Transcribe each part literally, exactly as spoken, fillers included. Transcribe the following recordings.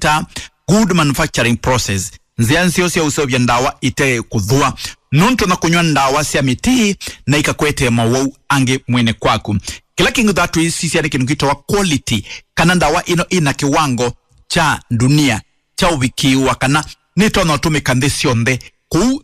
ta good manufacturing process, nzĩa nzeo sya ũseũvya ndawa ite kũthũa, nũndũ na kũnyw'a ndawa sya mĩtĩ na ikakwetee mawau angĩ mwĩnĩ kwaku. Kĩla kĩngĩ twĩsisya nĩ kĩndũ kĩtawa quality, kana ndawa ĩno ĩna kĩwango kya ndunia kya ũvikĩĩwa kana nĩtonya ũtũmĩka nthĩ syonthe kũu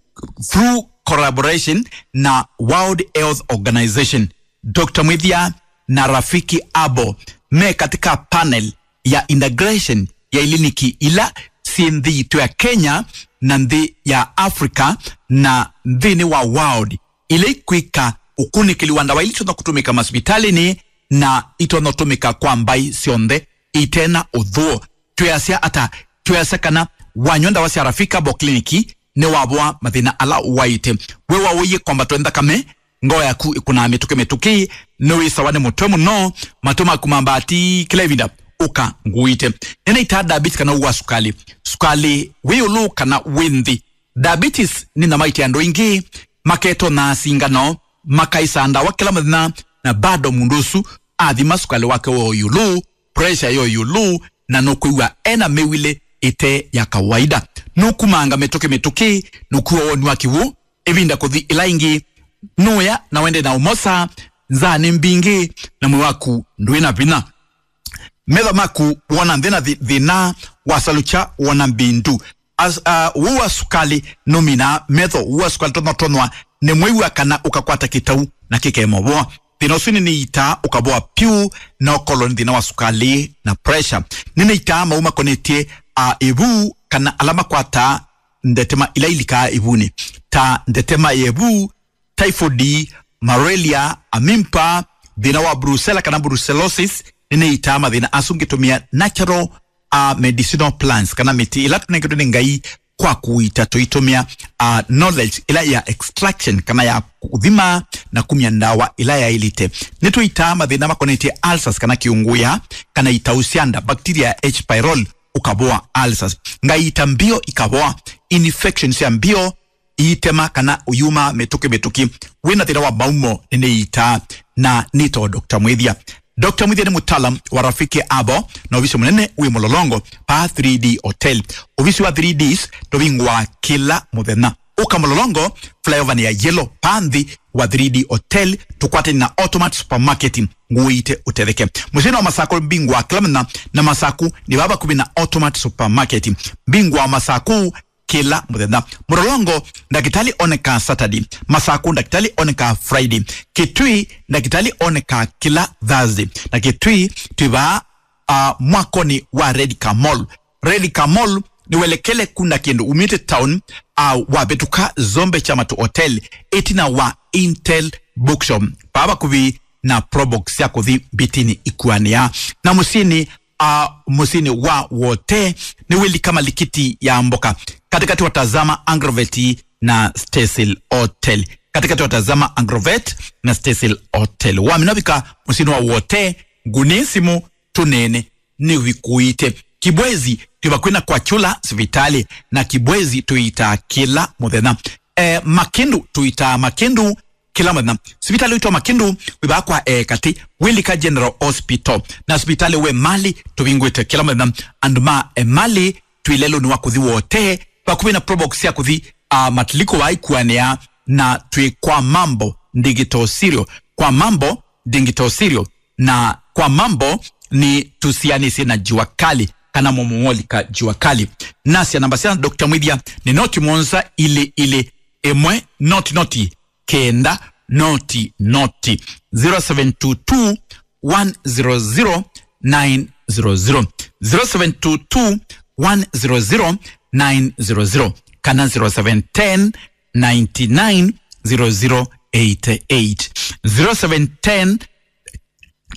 through collaboration na World Health Organization. Doctor Mwĩthya na Rafiki Herbal me katika panel ya integration ya iliniki ila syĩ nthĩ yitũ ya Kenya na nthĩ ya Africa na nthĩnĩ wa world, ila ikwĩka ũkunĩkĩli wa ndawa ila itonya kũtũmĩka masivitalĩnĩ na itonya ũtũmĩka kwa mbaĩ syonthe itena ũthũo. Twĩasya ata? Twĩasya kana wanywa ndawa sya Rafiki Herbal Clinic nĩwavoa mathĩna ala ũwaĩte. We waũie kwambatwa nĩ nthakame, ngoo yaku ĩkũnaa mĩtũkĩ mĩtũkĩ, nĩwĩsawa nĩ mũtwe mũno, matũ maku mambaa ti kĩla ĩvinda, ũka ngũĩte. Nĩnĩitaa diabetes kana ũwau wa sukali. Sukali wĩ ĩũlũ kana wĩ nthĩ. Diabetes nĩ nyama ĩte andũ aingĩ maketony'a singano, makaĩsaa ndawa kĩla mũthenya, na bado mũndũ ũsu athima sukali wake wo ĩũlũ, pressure yo ĩũlũ, na nũkwĩw'a ena mĩw'ĩle ĩte ya kawaida. Nũkumanga mĩtũkĩ mĩtũkĩ, nũkua woni wa kĩw'ũ, ĩvinda kũthi ĩla ĩngĩ, nũya na wende na ũmosa, nzaa nĩ mbingĩ, na mwĩĩ waku ndwĩ na vinya. Metho maku wona nthĩ na thi-, thĩna, wasalukya wona mbindu. As, uh, ũwau wa sukali nũminaa metho, ũwau wa sukali tonywa tonywa nĩ mwĩw'a kana ũkakwata kĩtau na kĩkemovoa. Thĩna ũsu nĩnĩitaa ũkavoa pyũ, na ũkolwa nĩ thĩna wa sukali na pressure. Nĩnĩitaa mau makonetye, uh, ĩvu kana ala makwataa ndetema ila ilikaa ĩvunĩ, ta ndetema ya ĩvu, typhoid, malaria, amimpa, thĩna wa brucella kana brucellosis. Nĩnĩitaa mathĩna asu ngĩtũmĩa natural, uh, medicinal plants kana mĩtĩ ĩla tũnengetwe nĩ Ngai kwa kũita tũitũmĩa, uh, knowledge ĩla ya extraction kana ya kũthima na kumya ndawa ĩla yaĩlĩte. Nĩtũitaa mathĩna makonetye ulcers kana kĩũngũya kana itau sya nda, bacteria ya H. pylori ũkavoa ulcers. Ngaita mbio ikavoa, infections ya mbio, iitema kana ũyuma mĩtũkĩ mĩtũkĩ. Wĩna thĩna wa maumo nĩnĩitaa na nĩtawa Doctor Mwĩthya. Doctor Mwĩthya nĩ mũtaalam wa Rafiki Herbal na ovisi mũnene wĩ Mũlolongo, pa three D Hotel. Ovisi wa three Ds tũvingũaa kĩla mũthenya. Ũka Mũlolongo, flyover nĩ ya yellow, pa nthĩ wa three D Hotel, tũkwatene na Automat Supermarket, ngũĩte ũtetheke. Mũsyĩnĩ wa Masakũ mbingũaa kĩla mũthenya, na Masakũ nĩ vaa vakuvĩ na Automat Supermarket. Mbingũaa Masakũ kĩla mũthenya. Mũlolongo, ndakĩtalĩ onekaa Saturday. Masakũ, ndakĩtalĩ onekaa Friday. Kitui, ndakĩtalĩ onekaa kĩla Thursday. Na Kitui, twĩ vaa, uh, mwakoni wa Red Car Mall. Red Car Mall nĩwelekele kuna kĩndũ umĩte town, uh, wavĩtũka Zombe Chamatu Hotel, ĩtina wa Intel Bookshop, vaa vakuvĩ na Probox ya kũthi Mbitini ikuanĩa. Na mũsyĩnĩ, a, mũsyĩnĩ wa Wote, nĩwĩlika malikiti ya mboka, katĩkatĩ wa Tazama Agrovet na Stesil Hotel. Katĩkatĩ wa Tazama Agrovet na Stesil Hotel. Wamina vika mũsyĩnĩ wa Wote, ngũnĩe simũ, tũneene, nĩvikũĩte. Kibwezi, twĩ vakuĩ na kwa Kyũla sivitalĩ, na Kibwezi tũitaa kĩla mũthenya. E, Makindu, tũitaa Makindu kĩla mũthenya. Sivitalĩ witũ wa Makindu wĩ vaa kwa Ekatĩ, wĩlika General Hospital. Na sivitalĩ wa Emali tũvingũĩte kĩla mũthenya. Andũ ma Emali twĩ lelũnĩ wa kũthi Wote, vakuvĩ na Probox ya kũthi, a, Matilikũ vaa ikuanĩa, na twĩ kwa Mambo Digital Cereal. Kwa Mambo Digital Cereal. Na kwa Mambo nĩ tũsianĩsye na Jua Kali kana Momowolika Jua Kali. Nasya namba sya Doctor Mwĩthya nĩ noti mũonza ilĩ ilĩ ĩmwe noti noti kenda noti noti, zero seven two two, one zero zero, nine zero zero, zero seven two two, one zero zero, nine zero zero, kana zero seven ten, nine nine, zero zero eight eight, zero seven ten,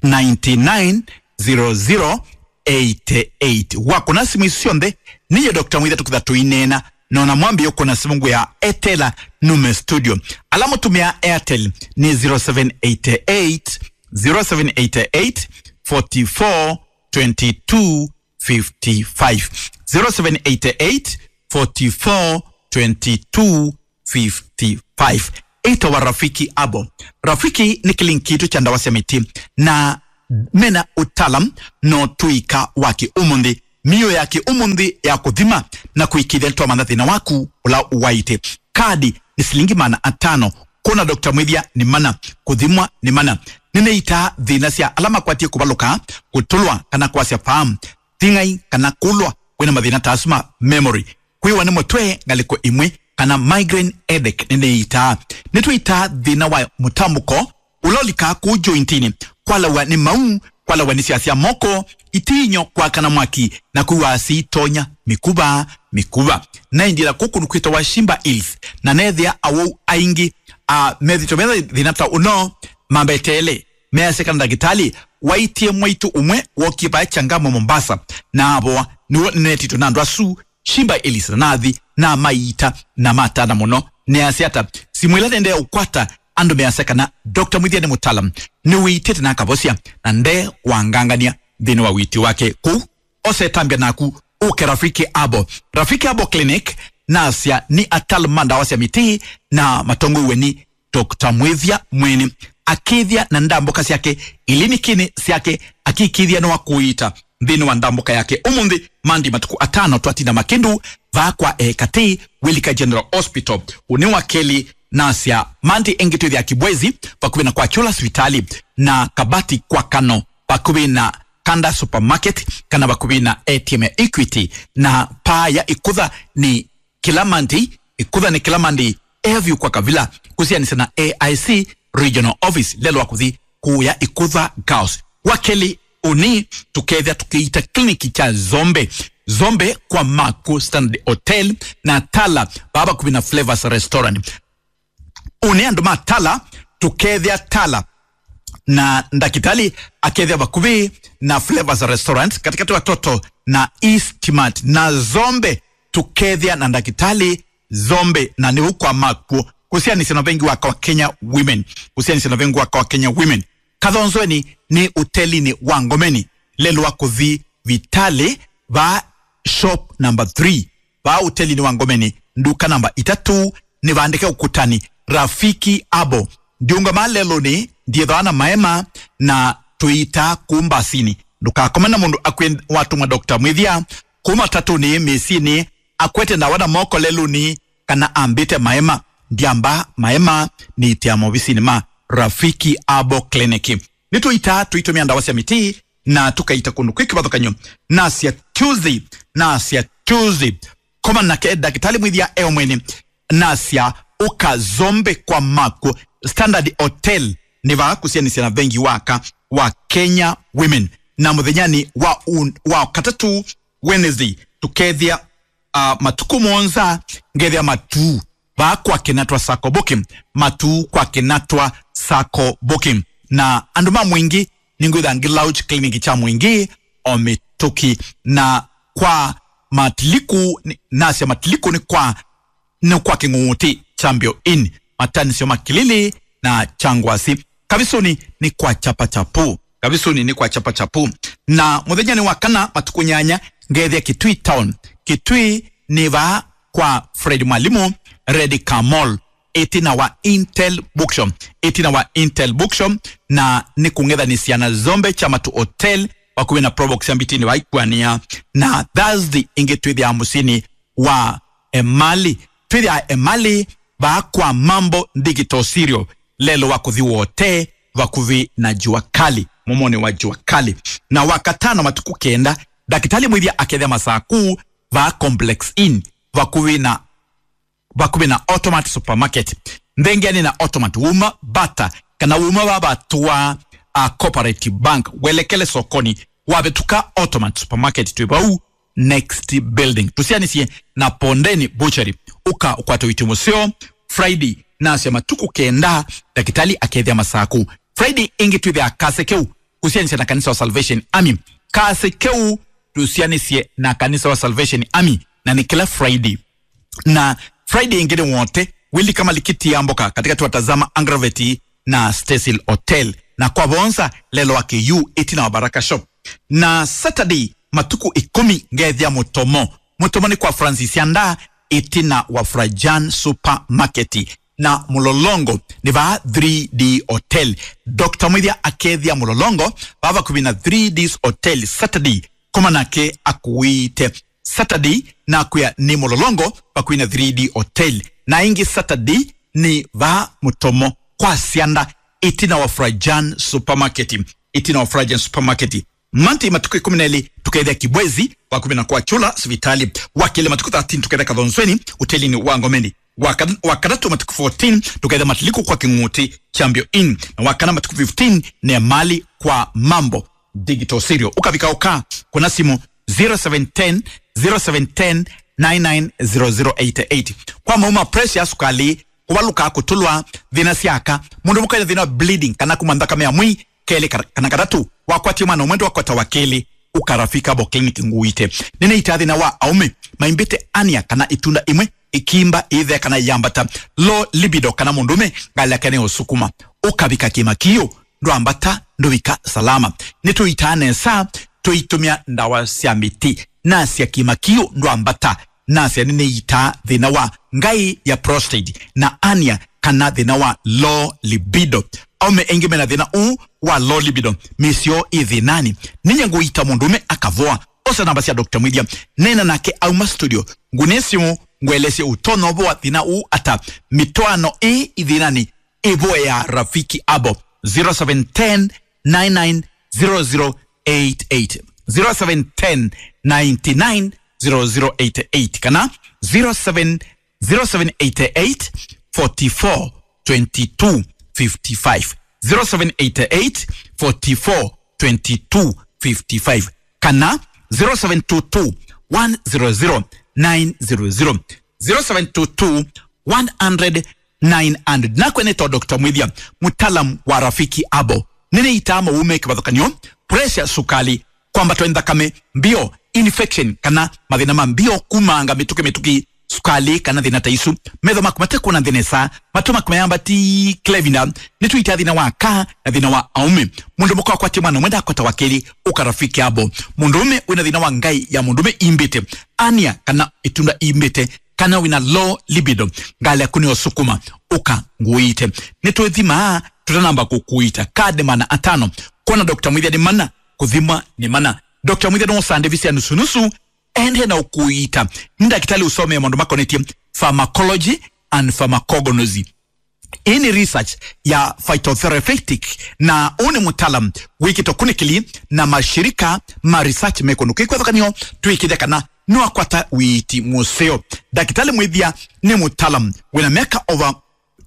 nine nine, zero zero eight eight. Wakũna simũ isu syonthe, niye Doctor Mwĩthya tũkĩtha tũineena, na ona mwambĩĩa ũkũna simũ ngwĩa etela nume studio. Ala mũtũmĩaa Airtel nĩ zero seven eight eight, zero seven eight eight, forty four, twenty two, fifty five, zero seven eight eight, forty four, twenty two, fifty five. Ĩtawa Rafiki Herbal. Rafiki nĩ kĩliniki kitũ kya ndawa sya mĩtĩ, na mena ũtaalam no tũika wa kĩ ũmũnthĩ. Mĩio yake ũmũnthĩ ya kũthima na kũĩkĩĩthya nĩtwamantha thĩna waku ũla ũwaĩte. Kadi nĩ silingi maana atano. Kwona Doctor Mwĩthya nĩ mana. Kũthimwa nĩ mana. Nĩnĩitaa thĩna sya ala makwatie kũvalũka, kũtũlwa kana kwasya faam, thing'ai kana kũlwa wĩna mathĩna ta asu ma memory, kwĩwa nĩ mũtwe ngalĩko ĩmwe, kana migraine headache. Nĩnĩitaa. Nĩtwĩitaa thĩna wa mũtambũko ũla ũlikaa kũu jointinĩ, kwalawa nĩ mau, kwalawa nĩ sya sya moko, itinyo, kwakana mwaki, na kwĩw'a siitonya mĩkuva, mĩkuva. Naendie na kũkũ nũkwĩtawa Shimba Hills, na neethĩa awau aingĩ, a, methĩtwe metha thĩna ta ũno, mambeteele, measya kana ndakĩtalĩ waitie mwaitũ ũmwe wokie vaa Changamwe Mombasa, na avoa. Nĩw'o nĩneetĩtwe na andũ asu Shimba Hills, na nathi, na maiita, na matana mũno. Neasya ata? Simũ ĩla nendee ũkwata andũ measya kana Doctor Mwĩthya nĩ mũtaalam, nĩwĩitĩte na akavosya, na nde wangangania nthĩnĩ wa wĩtyo wake kũu. Osa ĩtambya naku ũke Rafiki Herbal. Rafiki Herbal Clinic, nasya nĩ ataalam ma ndawa sya mĩtĩ na matongoew'e nĩ Doctor Mwĩthya mwene. Akĩĩthya na ndambũka syake, iliniki-inĩ syake, akĩĩkĩĩthya nĩwakũĩta nthĩnĩ wa ndambũka yake. Ũmũnthĩ Monday matukũ atano twatinda Makĩndũ, vaa kwa e katĩ wĩlika General Hospital. Ũnĩ wa kelĩ nasya Monday ĩngĩ twĩthĩa Kibwezi, vakuvĩ na kwa Kyũla sivitalĩ, na Kabati kwa Kano, vakuvĩ na Kanda Supermarket, kana vakuvĩ na A T M ya Equity, na paa ya Ĩkũtha nĩ kĩla Monday, Ĩkũtha nĩ kĩla Monday, Airview kwa Kavila, kũsianĩsya na A I C Regional Office, lelwa kũthi kũya Ĩkũtha Girls. Wa kelĩ, ũnĩ tũkethĩa tũkĩita kliniki kya Zombe. Zombe kwa Maku Standard Hotel na Tala, vaa vakuvĩ na Flavors Restaurant. Ũnĩ andũ ma Tala, tũkethĩa Tala na ndakĩtalĩ akethĩa vakuvĩ na Flavors Restaurant, katĩkatĩ wa Toto na East Mart. Na Zombe tũkethĩa na ndakĩtalĩ Zombe, na nĩ ũu kwa Makuo, kũsianĩsya na vengi wa kwa Kenya Women, kũsianĩsya na vengi wa kwa Kenya Women. Kathonzweni nĩ ũtelinĩ wa Ngomeni, lelwa kũthi vitalĩ, vaa shop number three. Vaa ũtelinĩ wa Ngomeni, nduka namba itatũ, nĩvandĩke ũkũtanĩ, Rafiki Herbal. Ndiũngama lelũnĩ, ndiĩthawa na maema, na tũitaa kũu mbasinĩ. Ndũkakome na mũndũ akwĩ watũmwa Doctor Mwĩthya kũu matatũnĩ, mĩsyĩnĩ, akwete ndawa na moko lelũnĩ, kana ambĩte maema. Ndyamba maema, nĩitĩa maovisinĩ ma Rafiki Herbal Clinic. Nĩtũitaa tũitũmĩa ndawa sya mĩtĩ, na tũkaita kũndũ kwĩ kĩvathũkany'o. Nasya Tuesday, nasya Tuesday. Koma nake ndakĩtalĩ Mwĩthya e o mwene. Nasya ũka Zombe kwa Maku Standard Hotel, nĩ vaa kũsianĩsya na vengi waka wa Kenya Women. Na mũthenyanĩ wa un-, wa katatũ, Wednesday, tũkethĩa, ah, matukũ mũonza, ngethĩa matuu vaa kwa Kĩnatwa Sacco Booking, matuu kwa Kĩnatwa Sacco Booking. Na andũ ma Mwingĩ, nĩngwĩtha ngĩ launch clinic kya Mwingĩ o mĩtũkĩ. Na kwa Matiliku, nĩ-, nasya Matiliku nĩ kwa, nĩ kwa Kĩng'ũng'ũtĩ, Champion Inn, matanisyo ma Kĩlĩlĩ na Kyangwasi. Kavisũnĩ nĩ kwa Chapa Chapu. Kavisũnĩ nĩ kwa Chapa Chapu. Na mũthenyanĩ wa kana matukũ nyanya, ngethĩa Kitui Town. Kitui nĩ vaa kwa Fred Mwalimu, Red Car Mall, ĩtina wa Intel Bookshop. Ĩtina wa Intel Bookshop, na nĩ kũng'ethanĩsya na Zombe Chamatu Hotel, vakuvĩ na Probox ya Mbitini va Ikuania. Na Thursday ĩngĩ twĩthĩaa mũsyĩnĩ wa Emali. Twĩthĩaa Emali vaa kwa Mambo Digital Cereal, lelũ wa kũthi Wote, vakuvĩ na Jua Kali, mũmonĩ wa Jua Kali. Na Wakatano matukũ kenda, ndakĩtalĩ Mwĩthya akethĩa Masaku, vaa Complex Inn, vakuvĩ na, vakuvĩ na Automat Supermarket. Nthengeanĩ na Automat, wuma Bata, kana wuma vaa vatũa, a, Cooperative Bank, welekele sokoni, wavĩtũka Automat Supermarket, twĩ vau next building. Tũsianĩsye na Pondeni Butchery. Ũka ũkwate ũiiti mũseo Friday, nasya matukũ kenda, ndakĩtalĩ akethĩa Masaku. Friday ĩngĩ twĩthĩaa Kasekeu, kũsianĩsya na kanisa wa Salvation Army. Kasekeu tũsianĩsye na kanisa wa Salvation Army, na nĩ kĩla Friday. Na Friday ĩngĩ nĩ Wote, wĩlika malikiti ya mboka katĩkatĩ wa Tazama Agraveti na Stesil Hotel. Na kwa Vonza, lelo wa K U, ĩtina wa Baraka Shop. Na Saturday, matukũ ĩkũmi, ngethĩa Mũtomo. Mũtomo nĩ kwa Francis Yanda, ĩtina wa Frajan Supermarket. Na Mũlolongo nĩ vaa three D Hotel. Doctor Mwĩthya akethĩa Mũlolongo, vaa vakuvĩ na three Ds Hotel, Saturday, Koma nake akũĩte. Saturday nakwĩa nĩ Mũlolongo vakuvĩ na three D Hotel. Na ĩngĩ Saturday nĩ vaa Mũtomo kwa Sianda ĩtina wa Frajan Supermarket. Ĩtina wa Frajan Supermarket. Monday matukũ ĩkũmi na elĩ tũkethĩa Kibwezi vakuvĩ na kwa Chula sivitali. Wakelĩ matukũ thirteen tũkethĩa Kathonzweni ũtelinĩ wa Ngomeni. Waka-, wakatatũ matukũ fourteen tũkethĩa Matiliku kwa Kĩng'ũti Champion Inn. Na wakana matukũ fifteen nĩ Emali kwa Mambo Digital Cereal. Ũkavika ũka kũna simũ zero seven ten, zero seven ten, nine nine zero zero eight eight. Kwa maũũ ma pressure, sukali, kũvalũka, kũtũlwa, thĩna sya aka, mũndũ mũka ena thĩna wa bleeding kana kuma nthakame ya mwĩĩ, kelĩ ka-, kana katatũ, wakwatie mwana ũmwe ndwakwata wa kelĩ, ũka Rafiki Herbal Clinic ngũĩte. Nĩnĩitaa thĩna wa aũme maimbĩte hernia kana ĩtunda ĩmwe, ĩkimba, ĩthea kana yambata, low libido, kana mũndũme ngalĩ yake nĩ ũsukuma. Ũkavika kĩmakiũ, ndwambata, ndũvika salama. Nĩtũitaa nesa tũitũmĩa ndawa sya mĩtĩ. Nasya kĩmakiũ ndwambata, nasya nĩnĩitaa thĩna wa ngaĩ ya prostate na hernia kana thĩna wa low libido. Aũme aingĩ mena thĩna ũũ wa low libido, mĩsyoo ĩ thĩnanĩ. Nĩnya ngũita mũndũme akavoa. Osa namba sya Doctor Mwĩthya, neena nake auma studio. Ngũnĩe simũ, ngũelesye ũtonya ũvoa thĩna ũũ ata. Mĩtwaano ĩ ĩ thĩnanĩ, ĩvoea Rafiki Herbal, zero seven ten, nine nine zero zero eight eight, zero seven ten, nine nine zero zero eight eight, kana zero seven, zero seven eight eight, forty four, twenty two, fifty five, zero seven eight eight, forty four, twenty two, fifty five, kana zero seven two two, one zero zero, nine zero zero, zero seven two two, one hundred, nine hundred. Nakwa nĩtawa Doctor Mwĩthya, mũtaalamu wa Rafiki Herbal. Nĩnĩitaa maũũ me kĩvathũkany'o, pressure, sukali, kwambatwa nĩ nthakame mbio, infection, kana mathĩna ma mbio kumanga mĩtũkĩ mĩtũkĩ, sukali, kana thĩna ta isu. Metho maku matekwona nthĩ nesa, matũ maku mayambati kĩla ĩvinda. Nĩtũitaa thĩna wa aka na thĩna wa aũme. Mũndũ mũka wakwatie mwana ũmwe ndakwata wa kelĩ, ũka Rafiki Herbal. Mũndũũme wĩna thĩna wa ngaĩ ya mũndũũme imbĩte, hernia kana ĩtunda imbĩte, kana wĩna low libido, ngalĩ yaku nĩyo sukuma, ũka ngũĩte. Nĩtwĩthimaa tũtanamba kũkũita. Kaa nĩ mana atano. Kwona Doctor Mwĩthya nĩ mana, kũthimwa nĩ mana. Doctor Mwĩthya nũsande visi ya nusunusu, ende na ũkũita. Nĩ ndakĩtalĩ ũsomee maũndũ makonetye pharmacology and pharmacognosy. Ĩĩ nĩ research ya phytotherapeutic, na ũũ nĩ mũtaalam wĩkĩtwe kunĩkĩli na mashirika ma research me kũndũ kwĩ kĩvathũkany'o, twĩkĩthya kana nĩwakwata ũiiti mũseo. Ndakĩtalĩ Mwĩthya nĩ mũtaalam wĩna myaka over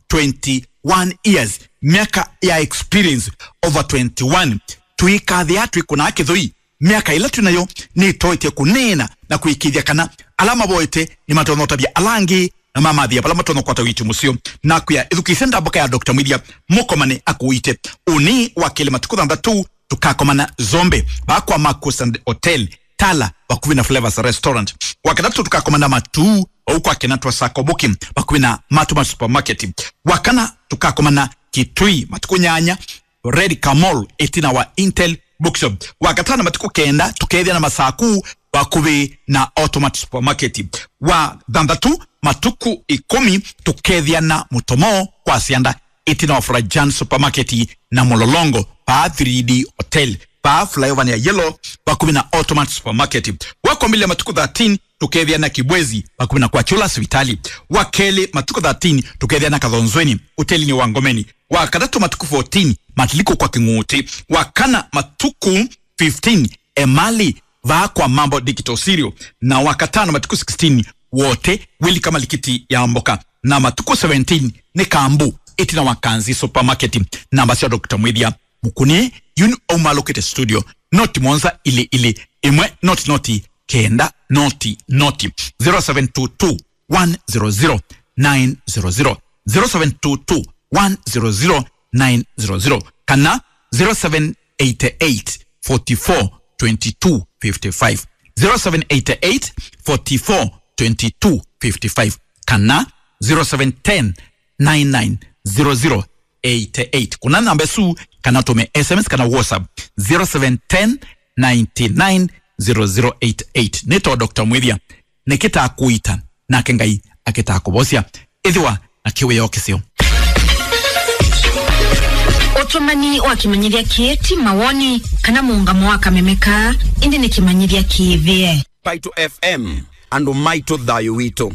twenty-one years, myaka ya experience over twenty-one. Tũikathĩa twĩkũnaa kĩthũi, myaka ĩla twĩ nayo nĩtoetye kũneena na kũĩkĩĩthya kana ala mavoete nĩmatonya ũtavya ala angĩ na mamathĩa vala matonya kwata ũiiti mũseo. Nakwĩa, ĩthukĩĩsye ndamboka ya Doctor Mwĩthya, mũkomane akũite. Ũnĩ wa kelĩ matukũ thanthatũ tũkakomana Zombe, vaa kwa Marcus and Hotel, Tala, vakuvĩ na Flavors Restaurant. Wa katatũ tũkakomana Matuu, vau kwa Kenatwa Sacco Booking, vakuvĩ na Matuma Supermarket. Wa kana tũkakomana Kitui, matukũ nyanya, Red Camol, ĩtina wa Intel Bookshop. Wa katano matukũ kenda, tũkethĩa na Masaku, vakuvĩ na Automat Supermarket. Wa thanthatũ matukũ ĩkũmi, tũkethĩa na Mũtomo kwa Sianda, ĩtina wa Frajan Supermarket na Mũlolongo, vaa three D Hotel, vaa flyover ya Yellow, vakuvĩ na Automat Supermarket. Wa kwambĩlĩlya matukũ thirteen, tũkethĩa na Kibwezi, vakuvĩ na kwa Chula sivitali. Wa kelĩ matukũ thirteen, tũkethĩa na Kathonzweni, ũtelinĩ wa Ngomeni. Wa katatũ matukũ fourteen, Matiliku kwa Kĩng'ũtĩ. Wa kana matukũ fifteen, Emali, vaa kwa Mambo Digital Cereal. Na wa katano matukũ sixteen, Wote, Wĩlika Malikiti ya Mboka. Na matukũ seventeen, nĩ Kambu, ĩtina wa Kanzi Supermarket. Namba sya Doctor Mwĩthya, mũkũnĩe, yu nĩ aumalũkĩte studio. Noti mũonza ilĩ ilĩ, ĩmwe noti noti, kenda noti noti. Zero seven two two, one zero zero, nine zero zero, zero seven two two, one zero zero, nine zero zero, kana zero seven eight eight, forty four, twenty two, fifty five, zero seven eight eight, forty four, twenty two, fifty five, kana zero seven ten, nine nine zero zero eight eight. Kũna namba ĩsu kana ũtũme S M S kana WhatsApp, zero seven ten, nine nine zero zero eight eight. Nĩtawa Doctor Mwĩthya, nĩkĩtaa kũita, nake Ngai akĩtaa kũvosya. Ĩthĩwa na kĩwĩoo kĩseo. Ũtũmani wa kĩmanyĩthya kĩĩ ti mawoni kana mũũngamo wa kameme kaa, ĩndĩ nĩ kĩmanyĩthya kĩĩvĩe. Paito F M, andũ maitũ, thayũ witũ.